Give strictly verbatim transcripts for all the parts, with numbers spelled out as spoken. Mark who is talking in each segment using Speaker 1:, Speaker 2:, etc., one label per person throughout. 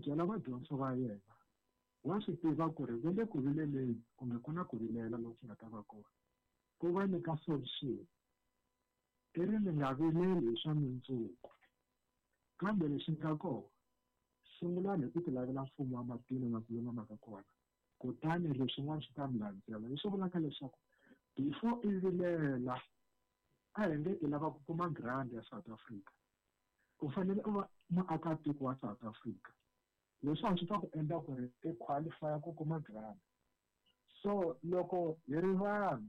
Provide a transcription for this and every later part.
Speaker 1: byela vadyondzo va yena wa swi tiva ku ri va le ku vileleni kumbe ku na ku vilela loku nga ta va kona ku va nyika solution i ri mi nga vileli hi swa mundzuku kambe lexi nga kona sungulani hi ku ti lavela mfumo wa matilo na ku lulama ka kona kutani leswin'wana swi ta mi landzela leswi vulaka leswaku before i vilela a hi nge i lava ku kuma grant ya South Africa u fanele u va muakatiko wa South Africa leswiwani swi ta ku endla ku ri i qualify ku kuma grant so loko hi ri vanhu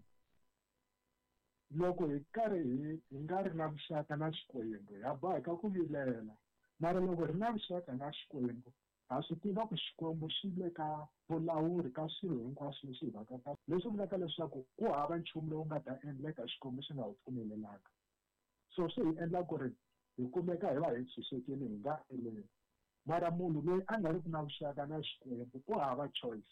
Speaker 1: loko hi karhi hi hi nga ri na vuxaka na Xikwembu ha boheka ku vilela mara loko hi ri na vuxaka na Xikwembu ha swi tiva ku Xikwembu xi le ka vulawuri ka swilo hinkwaswo leswi hi vaka ka leswi vulaka leswaku ku hava nchumu lowu nga ta endleka Xikwembu xi nga wu pfumelelanga so swi hi endla ku ri hi kumeka hi va hi tshunxekile hi nga vileli mara munhu loyi a nga ri ki na vuxaka na Xikwembu ku hava choice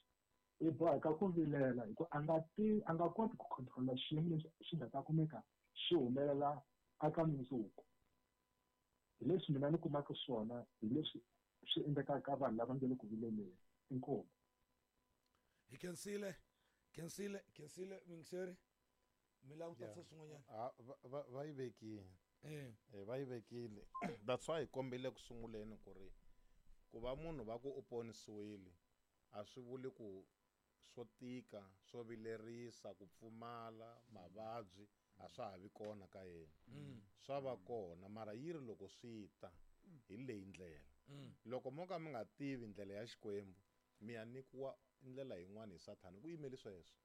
Speaker 1: i boheka ku vilela hi ku a nga ti a nga koti ku control xiyimo lexi xi nga ta kumeka xi humelela aka mundzuku hi leswi mina ni kumaka swona hi leswi swi endlekaka ka vanhu lava nge le ku vileleni inkomu
Speaker 2: hi khensile khensile khensile muyingiseri mi lava ku tatisa swin'wanyana
Speaker 3: Ah, va- va va yi vekile
Speaker 2: eh
Speaker 3: Eh, va yi vekile that's why hi kombile ku sunguleni ku ri ku va munhu va ku u ponisiwile a swi vuli ku swo tika swo vilerisa ku pfumala mavabyi a swa ha vi kona ka yena swa va kona mara yi ri loko swi ta hi leyi ndlela loko mo ka mi nga tivi ndlela ya Xikwembu mi ya nyikiwa ndlela yin'wana hi sathana ku yimeli sweswo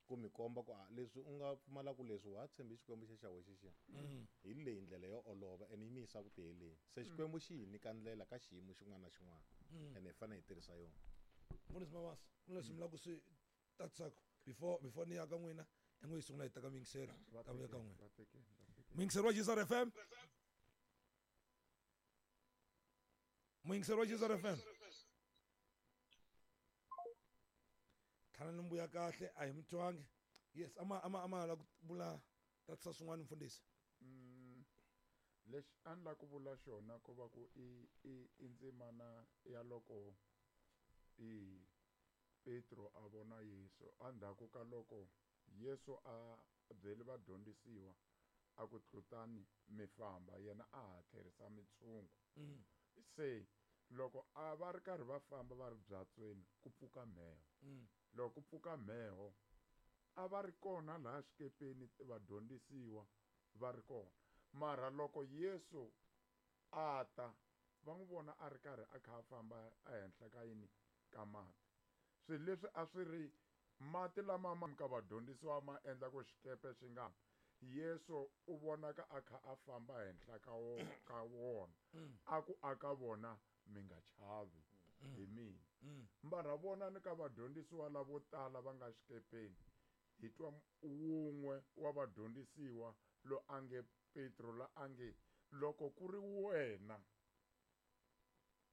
Speaker 3: ku mi komba ku a leswi u nga pfumalaku leswi wa ha tshembi Xikwembu xe xa we xexiya hi leyi ndlela yo olova ene yi mi yisa ku tiheleni se Xikwembu xi hi nyika ndlela ka xiyimo xin'wana na xin'wana ene hi fanele hi tirhisa yona
Speaker 2: mfundhisi Mabasa ku na leswi mi lava ku swi tatisaka before before ni ya ka n'wina i ngo yi sungula hi teka muyingiseri ta vuya ka n'wina
Speaker 4: Va tekeni, va tekeni.
Speaker 2: muyingiseri wa J S R F M, muyingiseri wa J S R F M, tlhana ni mbuya kahle a hi mi twangi. Yes, ama ama ama la ku vula tatisa swin'wana mfundhisi.
Speaker 4: Mm, lexi a ni la ku vula xona ko va ku i i i ndzimana ya loko i Petro a vona Yesu endzhaku ka loko Yesu a byele vadyondzisiwa a ku tlutani mi famba yena a ha tlherisa mitshungu se loko a va ri karhi va famba va ri byatsweni ku pfuka mheho loko ku pfuka mheho a va ri kona laha xikepeni vadyondzisiwa va ri kona mara loko Yesu a ta va n'wi vona a ri karhi a kha a famba ehenhla ka yini ka mati swilo leswi a swi ri mati lama ma ka vadyondzisiwa ma endla ku xikepe xi nga Yesu u vonaka a kha a famba henhla ka wo ka wona a ku aka vona mi nga chavi hi mina mara vona ni ka vadyondzisiwa lavo tala va nga xikepeni hi twa wun'we wa vadyondzisiwa lo a nge Petro la a nge loko ku ri wena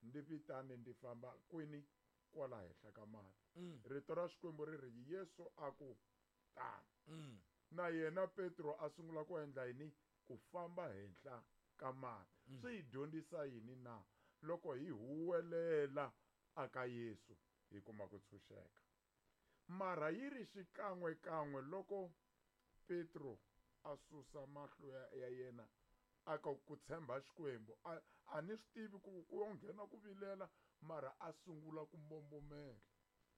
Speaker 4: ndi vitane ndi famba kwini kwala henhla ka mati rito ra Xikwembu ri ri Yesu a ku tana na yena Petro a sungula ku endla yini ku famba henhla ka mati swi hi dyondzisa yini na loko hi huwelela aka Yesu hi kuma ku tshunxeka mara yi ri xikan'we kan'we loko Petro a susa mahlo ya, ya yena aka ku tshemba Xikwembu a, a ni swi tivi ku ku yo nghena ku vilela mara a sungula ku mbombomela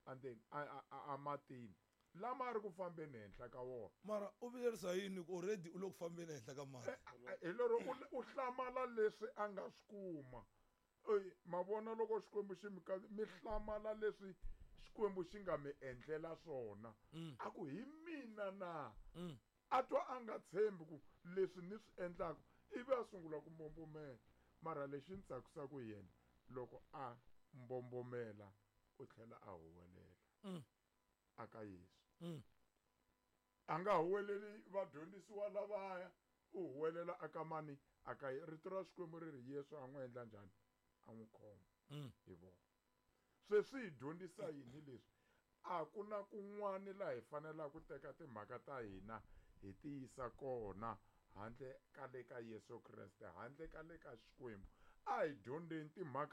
Speaker 4: and then a, a, a matini lama a ri ku fambeni henhla ka wona
Speaker 2: mara u vilerisa yini ku already u le ku fambeni ehenhla ka mati
Speaker 4: hi lero u, u hlamala leswi a nga swi kuma Ey, ma vona loko Xikwembu xi mi ka mi hlamala leswi Xikwembu xi nga mi endlela swona a ku hi mina na a twa a nga tshembi ku leswi ni swi endlaka ivi a sungula ku mbombomela mara lexi ni tsakisaka hi yena loko a mbombomela u tlhela a huwelela aka Yesu a nga huweleli vadyondzisiwa lavaya u huwelela aka mani aka rito ra Xikwembu ri ri Yesu a n'wi endla njhani a n'wi khoma hi vona se swi hi dyondzisa yini leswi a ku na kun'wani laha hi fanelaka ku teka timhaka ta hina hi ti yisa kona handle ka le ka Yesu Kreste handle ka le ka Xikwembu a hi dyondzeni timhaka.